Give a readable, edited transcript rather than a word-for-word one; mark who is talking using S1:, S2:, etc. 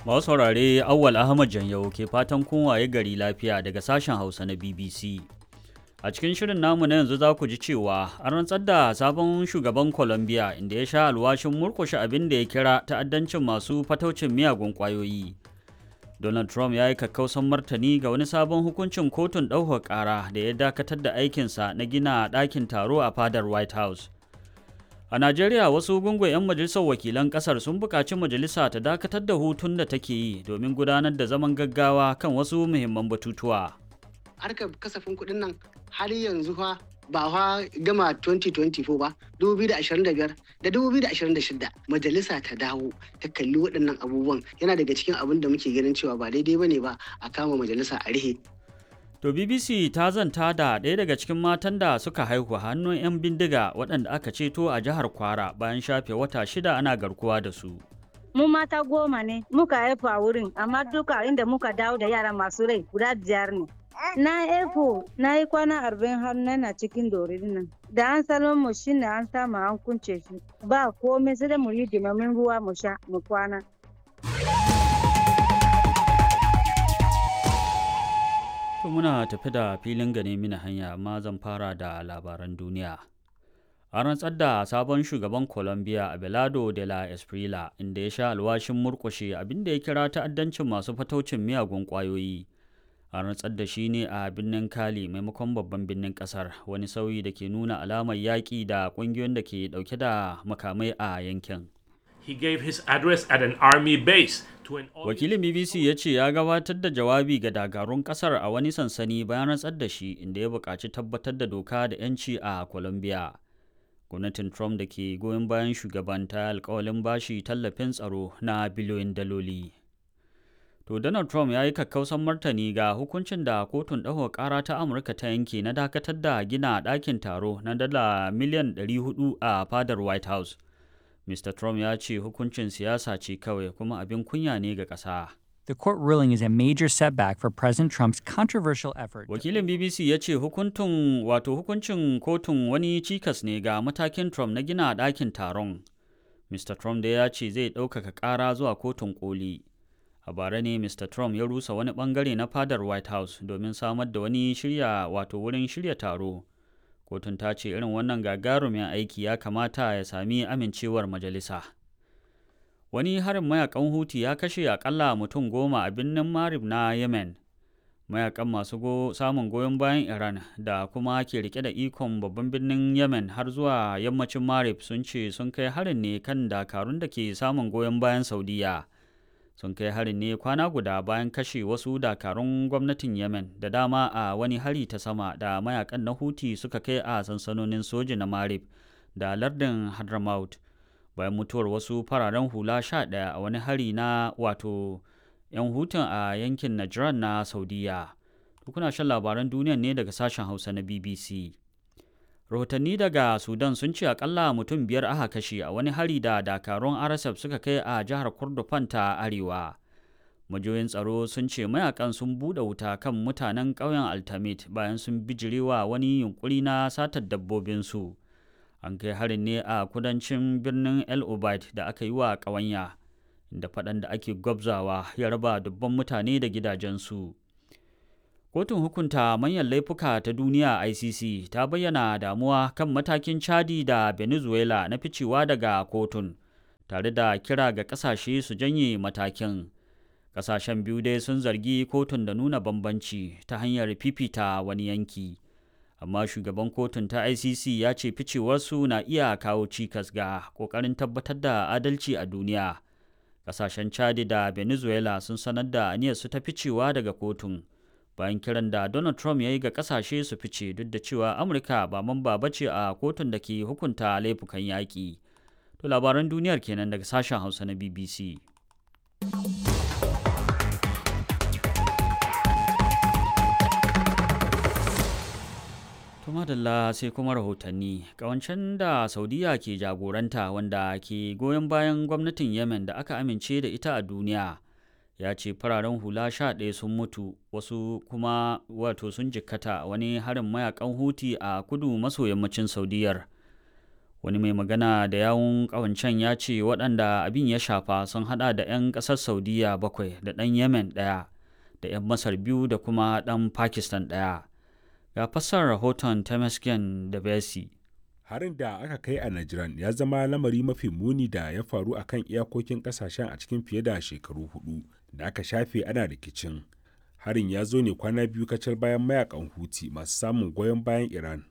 S1: Masu saurare, Awwal Ahmad Janyau ke fatan kun waye gari lafiya daga sashen Hausa na BBC. A cikin shirin namu na yanzu za ku ji cewa an rantsar da sabon shugaban Colombia, inda ya sha alwashin murkushe abin da ya kira ta'addancin masu fataucin miyagun ƙwayoyi. Donald Trump ya yi kakkausan martani ga wani sabon hukuncin kotun ɗaukar ƙara da ya dakatar da aikinsa na gina ɗakin taro a fadar White House. A Najeriya, wasu gungun 'yan majalisar wakilan ƙasar sun buƙaci majalisa ta dakatar da hutun da take yi domin gudanar da zaman gaggawa kan wasu muhimman batutuwa.
S2: Harkar kasafin kuɗin nan har yanzu fa ba fa gama 2024 ba, 2025 da 2026 majalisa ta dawo ta kalli waɗannan abubuwan. Yana daga cikin abin da muke ganin cewa ba daidai bane ba a kama majalisa a rihe.
S1: To, BBC ta zanta da ɗaya daga cikin matan da suka haihu hannun 'yan bindiga waɗanda aka ceto a jihar Kwara bayan shafe wata 6 ana garkuwa da su.
S3: Mu mata 10 ne muka haifu a wurin, amma duka inda muka dawo da yara masu rai guda biyar ne. Na haifu na yi kwana 40 har na cikin dorin nan. Da an salon mu shine an samu an kunce shi. Ba komai, sai dai mu yi dimamin ruwa mu sha mu kwana.
S1: To, muna tafi da filin gane mini hanya, amma zan fara da labaran duniya. An rantsar da sabon shugaban Colombia, Abelardo de la Espriella, inda ya sha alwashin murƙushe abin da ya kira ta'addancin masu fataucin miyagun ƙwayoyi. An rantsar da shi ne a birnin Cali maimakon babban birnin ƙasar, wani sauyi da ke nuna alamar yaƙi da ƙungiyoyin da ke ɗauke da makamai a yankin.
S4: He gave his address at an army base to an
S1: Wakilin BBC ya ce ya gabatar da jawabi ga dakarun kasar a wani sansani bayan rantsar da shi, inda ya buƙaci tabbatar da doka da 'yanci a Colombia. Gwamnatin Trump da ke goyon bayan shugaban ta alkawalin bashi tallafin tsaro na biliyoyin daloli. To, Donald Trump ya yi kakkausan martani ga hukuncin da kotun ɗaukar ƙara ta Amurka ta yanke na dakatar da gina ɗakin taro na dala miliyan 400 a fadar White House. Mr. Trump ya ce hukuncin siyasa ce kawai kuma abin kunya ne ga ƙasa.
S5: The court ruling is a major setback for President Trump's controversial effort.
S1: Wakilin BBC ya ce hukuntun wato hukuncin kotun wani cikas ne ga matakin Trump na gina ɗakin taron. Mr. Trump da ya ce zai ɗaukaka ƙara zuwa kotun koli. A bara ne Mr. Trump ya rusa wani ɓangare na fadar White House domin samar da wani shirya wato wurin shirya taro. Kotun ta ce irin wannan gagarumin aiki ya kamata ya sami amincewar majalisa. Wani harin mayakan Huti ya kashe akalla mutum 10 a birnin Marib na Yemen. Mayakan masu samun goyon bayan Iran da kuma ke rike da ikon babban birnin Yemen har zuwa yammacin Marib sun ce sun kai harin ne kan dakarun da ke samun goyon bayan Saudiya. Sun kai harin ne kwana guda bayan kashe wasu dakarun gwamnatin Yemen da dama a wani hari ta sama da mayakan na Huti suka kai a sansanonin soji na Marib da lardin Hadramaut, bayan mutuwar wasu fararen hula 11 a wani hari na wato 'yan Hutun a yankin Najran na Saudiya. Kuna shan labaran duniyan ne daga sashen Hausa na BBC. Rahotanni daga Sudan sun ce akalla mutum biyar aka kashe a wani hari da dakarun RSF suka kai a jihar Kordofan ta Arewa. Majiyoyin tsaro sun ce mayakan sun buɗe wuta kan mutanen ƙauyen Altamit bayan sun bijirewa wani yunkuri na satar dabbobinsu. An kai harin ne a kudancin birnin El Obeid da aka yi wa ƙawanya, inda faɗan da ake gwabzawa ya raba dubban mutane da gidajensu. Kotun hukunta manyan laifuka ta duniya, ICC, ta bayyana damuwa kan matakin Chadi da Venezuela na ficewa daga kotun, tare da kira ga kasashe su janye matakin. Kasashen biyu dai sun zargi kotun da nuna bambanci ta hanyar fifita wani yanki. Amma shugaban kotun ta ICC ya ce ficewarsu na iya kawo cikas ga ƙoƙarin tabbatar da adalci a duniya. Kasashen Chadi da Venezuela sun sanar da aniyarsu ta ficewa daga kotun, bayan kiran da Donald Trump ya yi ga kasashe su fice, duk da cewa Amurka ba mamba ba ce a kotun da ke hukunta laifukan yaƙi. To, labaran duniyar kenan daga sashen Hausa na BBC. To, madalla, sai kuma rahotanni. Kawancen da Saudiya ke jagoranta, wanda ke goyon bayan gwamnatin Yemen da aka amince da ita a duniya, ya ce fararen hula 11 sun mutu, wasu kuma wato sun jikkata wani harin mayakan Huti a kudu maso yammacin Saudiyar. Wani mai magana da yawun ƙawancen ya ce waɗanda abin ya shafa sun hada da 'yan ƙasar Saudiya 7 da ɗan Yemen 1 da 'yan Masar 2 da kuma ɗan Pakistan 1. Ga fassarar rahoton Temesgen da Besi.
S6: Harin da aka kai a Najran ya zama lamari mafi muni da ya faru a kan iyakokin kasashen a cikin fiye da shekaru 4 da aka shafe ana rikicin. Harin ya zo ne kwana biyu kacal bayan mayakan Houthi masu samun goyon bayan Iran